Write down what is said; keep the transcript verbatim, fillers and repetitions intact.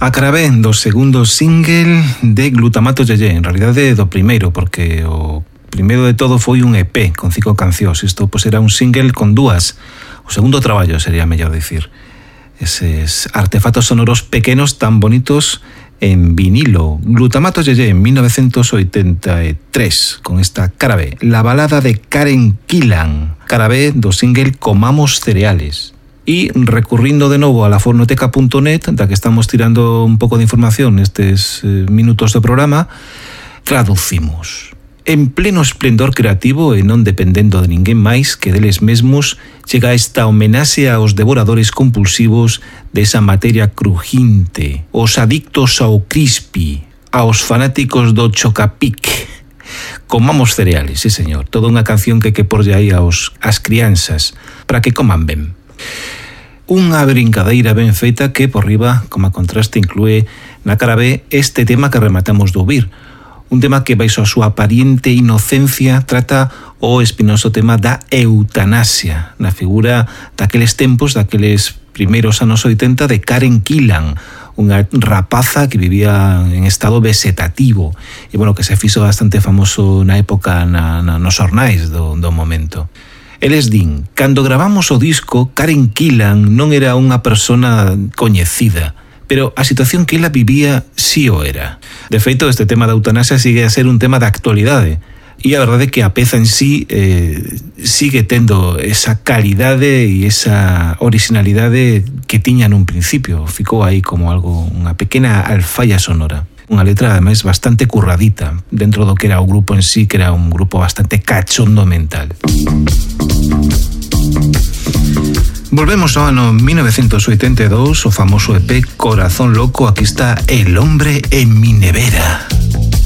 A Carabé do segundo single de Glutamato Yeye, en realidade do primeiro, porque o primeiro de todo foi un E P con cinco cancións. Isto pois era un single con dúas. O segundo traballo sería mellor dicir. Eses artefactos sonoros pequenos tan bonitos en vinilo. Glutamato Yeye en mil novecientos oitenta e tres con esta Carabé, la balada de Karen Gillan. Carabé do single Comamos Cereales. E recurrindo de novo a la fornoteca punto net, da que estamos tirando un pouco de información nestes eh, minutos do programa, traducimos. En pleno esplendor creativo e non dependendo de ninguén máis que deles mesmos, chega esta homenaxe aos devoradores compulsivos desa materia crujinte, os adictos ao crispy, aos fanáticos do chocapic. Comamos cereales, sí señor, toda unha canción que que porlle aí aos as crianzas para que coman ben. Unha brincadeira ben feita que por riba, como a contraste, inclúe na cara B este tema que rematamos de ouvir. Un tema que, baixo a súa aparente inocencia, trata o espinoso tema da eutanasia, na figura daqueles tempos, daqueles primeiros anos oitenta, de Karen Gillan, unha rapaza que vivía en estado vegetativo e, bueno, que se fixo bastante famoso na época na, na, nos xornais do, do momento. Eles din, cando gravamos o disco, Karen Gillan non era unha persona coñecida, pero a situación que ela vivía sí o era. De feito, este tema da eutanasia sigue a ser un tema de actualidade. E a verdade é que a peza en sí eh, sigue tendo esa calidade e esa originalidade que tiña nun principio. Ficou aí como algo, unha pequena alfalla sonora. Unha letra, ademais, bastante curradita dentro do que era o grupo en sí, que era un grupo bastante cachondo mental. Volvemos ao ano mil novecientos oitenta e dous, o famoso E P Corazón Loco. Aquí está El hombre en mi nevera.